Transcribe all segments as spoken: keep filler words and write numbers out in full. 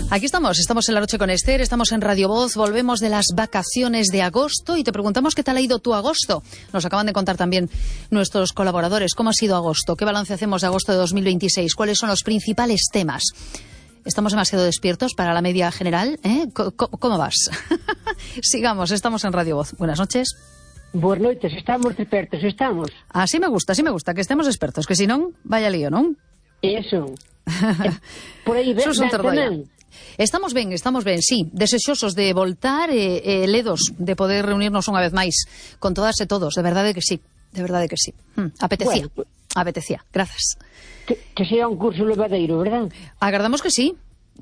Aquí estamos, estamos en La Noche con Esther, estamos en Radio Voz, volvemos de las vacaciones de agosto y te preguntamos qué tal ha ido tu agosto. Nos acaban de contar también nuestros colaboradores cómo ha sido agosto, qué balance hacemos de agosto de dos mil veintiséis, cuáles son los principales temas. ¿Estamos demasiado despiertos para la media general? ¿Eh? ¿Cómo, cómo vas? Sigamos, estamos en Radio Voz. Buenas noches. Buenas noches, estamos expertos, estamos. Así me gusta, así me gusta, que estemos expertos, que si non, vaya lío, non? Eso. Por aí ven, ven Estamos ben, estamos ben, sí, desexosos de voltar e eh, eh, ledos de poder reunirnos unha vez máis con todas e todos, de verdade que sí, de verdade que sí. Hmm, apetecía, bueno, pues, apetecía, grazas. Que, que sea un curso levadeiro, verdad? Agardamos que sí,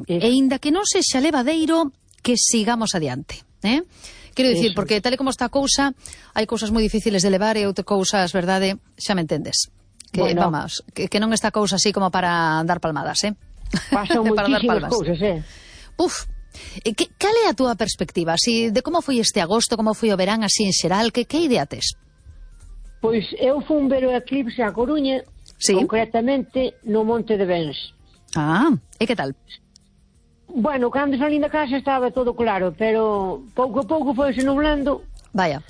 Eso. E inda que non sexa levadeiro, que sigamos adiante, eh? Quero dicir, Eso. Porque tal e como está a cousa, hai cousas moi difíciles de levar e outras cousas, verdade, xa me entendes. Que, bueno. vamos, que, que non está a cousa así como para dar palmadas, eh? Pasan moitísimas cousas, eh? Uf, que, cal é a túa perspectiva? Si, de como foi este agosto, como foi o verán así en xeral, que, que idea tes? Pois eu fui ver o eclipse a Coruña, sí. Concretamente no Monte de Bens. Ah, e que tal? Bueno, cando salín da casa estaba todo claro, pero pouco a pouco foise nublando. Vaya.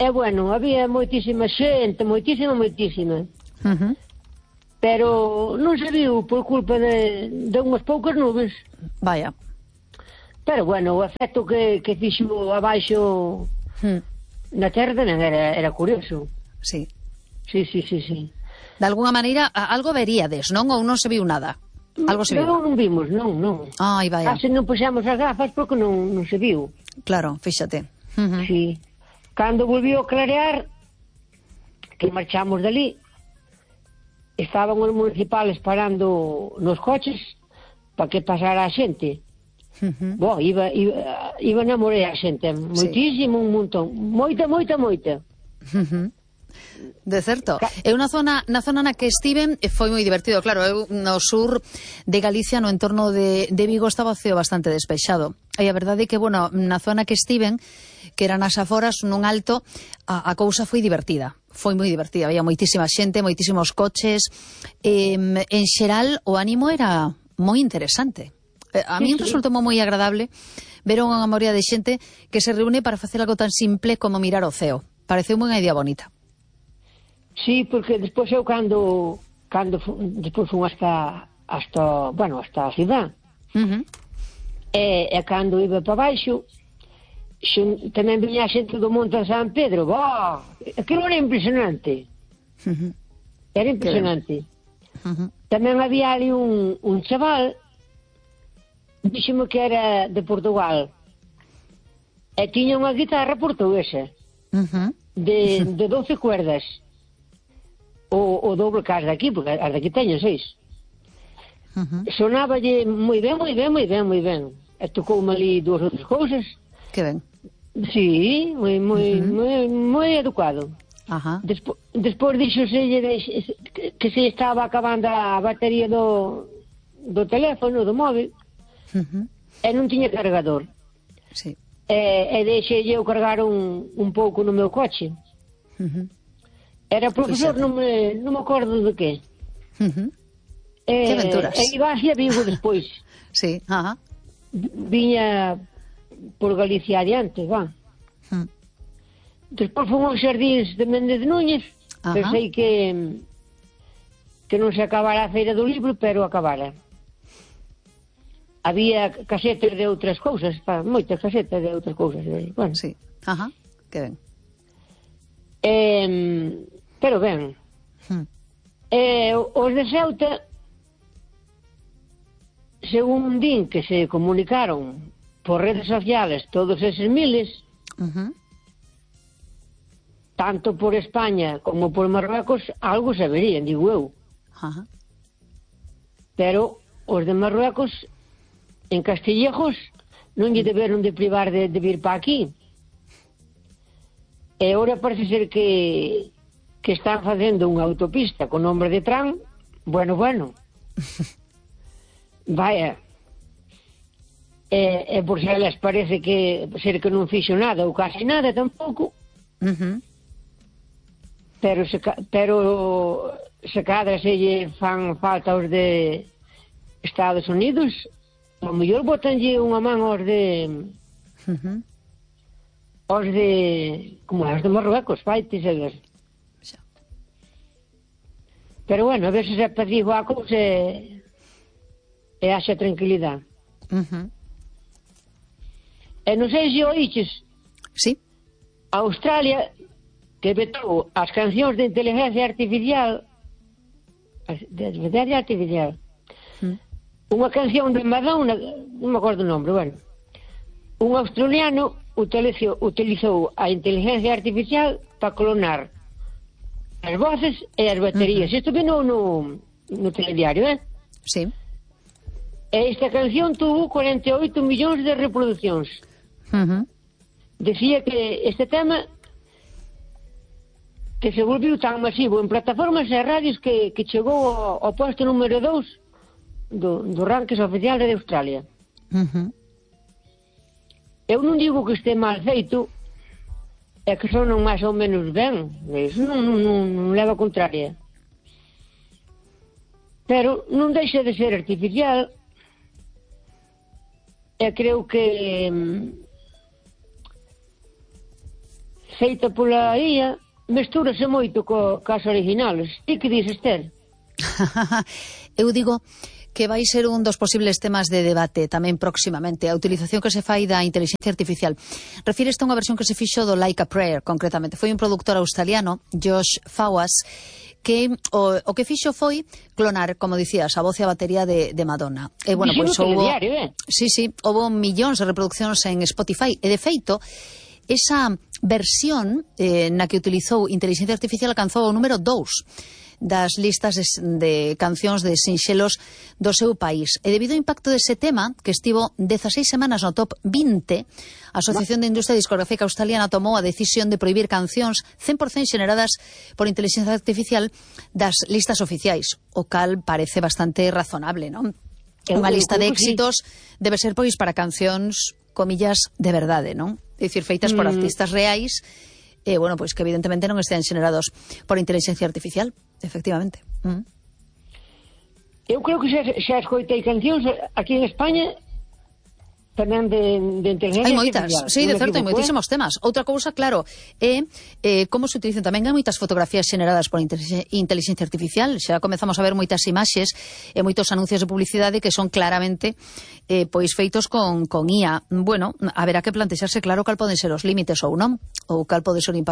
E bueno, había moitísima xente, moitísima, moitísima. Uh-huh. Pero non se viu por culpa de, de unhas poucas nubes. Vaya. Pero bueno, o efecto que, que fixo abaixo hmm. na terra non era, era curioso. Sí. Sí, sí, sí, sí. De alguna maneira, algo veríades, non? Ou non se viu nada? Algo se viu? Non, non vimos, non, non. Ai, vaya. Case non puxemos as gafas porque non, non se viu. Claro, fíxate. Uh-huh. Sí. Cando volviu a clarear, que marchamos dali, estaban os municipales parando nos coches para que pasara a xente. Uh-huh. Bo, iba, iba, iba na morea a xente, moitísimo, sí. Un montón, moita, moita, moita. Uh-huh. De certo. Eu na zona, na zona na que estiven foi moi divertido, claro, eu no sur de Galicia, no entorno de, de Vigo, estaba o ceo bastante despexado. E a verdade é que, bueno, na zona que estiven, que eran as aforas, nun alto, a, a cousa foi divertida. Foi moi divertida, había moitísima xente, moitísimos coches. Eh, en xeral, o ánimo era moi interesante. Eh, a mí sí, sí. Resultou moi agradable ver unha morea de xente que se reúne para facer algo tan simple como mirar o ceo. Pareceu unha idea bonita. Sí, porque despois eu cando cando despois fun hasta hasta, bueno, hasta a cidade. Uh-huh. E, e cando iba para baixo, xun, tamén viña a xente do Monte de San Pedro. Bah, aquilo era impresionante. Uh-huh. Era impresionante. Uh-huh. Tamén había ali un, un chaval, díxeme que era de Portugal, e tiña unha guitarra portuguesa, uh-huh. de, de doce cuerdas. O, o doble que as daqui, porque as daqui teñen seis. Uh-huh. Sonáballe moi ben, moi ben, moi ben, moi ben. E tocoume ali dúas outras cousas. Que ben. Sí, moi, moi, uh-huh. moi, moi educado. Uh-huh. Despo, despois dixoselle de, que, que se estaba acabando a batería do, do teléfono, do móvil, uh-huh. e non tiña cargador. Sí. E, e deixei eu cargar un, un pouco no meu coche. Uh-huh. Era profesor, non me, non me acordo de que. Uh-huh. E, que aventuras. E iba hacia Vigo despois. Sí, ajá. Viña por Galicia adiante, va. Uh-huh. Despois fomos aos xardíns de Méndez Núñez. Uh-huh. Pensei que que non se acabara a feira do libro, pero acabara. Había casetas de outras cousas, pa, moitas casetas de outras cousas. Bueno. Sí, ajá, que ben. Eh, pero ben. Hmm. Eh, os de Ceuta, según din que se comunicaron por redes sociales todos eses miles, uh-huh. tanto por España como por Marruecos, algo saberían, digo eu. Uh-huh. Pero os de Marruecos, en Castillejos, non lle deberon de privar de, de vir para aquí. E agora parece ser que que están facendo unha autopista con nombre de Tran. Bueno, bueno. Vaya. E, e por se les parece que ser que non fixo nada ou casi nada tampouco. Uh-huh. Pero se, pero se cadra se lle fan falta os de Estados Unidos, ao mellor botanlle unha man aos de... Uh-huh. Os de... Como é? Os de Marruecos, vai, te saber. Xa. Pero bueno, a ver se se apacigua a cousa e... e haxa tranquilidade. Uh-huh. E non sei se oíches... Sí. A Australia, que vetou as cancións de inteligencia artificial... De inteligencia artificial... Uh-huh. Unha canción de Madonna, non me acordo o nome, bueno. Un australiano utilizou, utilizou a inteligencia artificial para clonar as voces e as baterías. Uh-huh. Isto vino no, no telediario, eh? Sí. E esta canción tuvo cuarenta e oito millóns de reproduccións. Uh-huh. Decía que este tema que se volviu tan masivo en plataformas e radios que, que chegou ao, ao posto número dous do, do rankings oficial de Australia. Uh-huh. Eu non digo que este mal feito, é que sonan máis ou menos ben, iso non, non, non, non leva a contraria. Pero non deixa de ser artificial, e creo que mm, feita pola I A mestúrase moito co, cas originales. Ti que dices, Esther? Eu digo que vai ser un dos posibles temas de debate tamén próximamente, a utilización que se fai da inteligencia artificial. Refíreste a unha versión que se fixo do Like a Prayer, concretamente. Foi un productor australiano, Josh Fawaz, que o, o que fixo foi clonar, como dicías, a voz e a batería de, de Madonna. E, bueno, pois, pues, houbo... Eh? Sí, sí, houbo millóns de reproduccións en Spotify. E, de feito, esa versión eh, na que utilizou inteligencia artificial alcanzou o número dous das listas de, de cancións de sinxelos do seu país. E debido ao impacto dese tema, que estivo dezaseis semanas no top vinte, a Asociación de Industria Discográfica Australiana tomou a decisión de prohibir cancións cen por cento xeneradas por inteligencia artificial das listas oficiais, o cal parece bastante razonable, non? Unha lista de éxitos debe ser, pois, para cancións, comillas, de verdade, non? É dicir, feitas por mm. artistas reais, e, bueno, pois que evidentemente non estean xenerados por inteligencia artificial, efectivamente. Mm. Eu creo que xa, xa escoitei cancións aquí en España tamén de, de inteligencia hai moitas, artificial. sí, de certo, hai moitísimos temas. Outra cousa, claro, é eh, como se utilizan tamén. Hai moitas fotografías xeneradas por inteligencia artificial. Xa comezamos a ver moitas imaxes e moitos anuncios de publicidade que son claramente eh, pois feitos con, con I A. Bueno, haberá que plantexarse claro cal poden ser os límites ou non, ou cal pode ser o impacto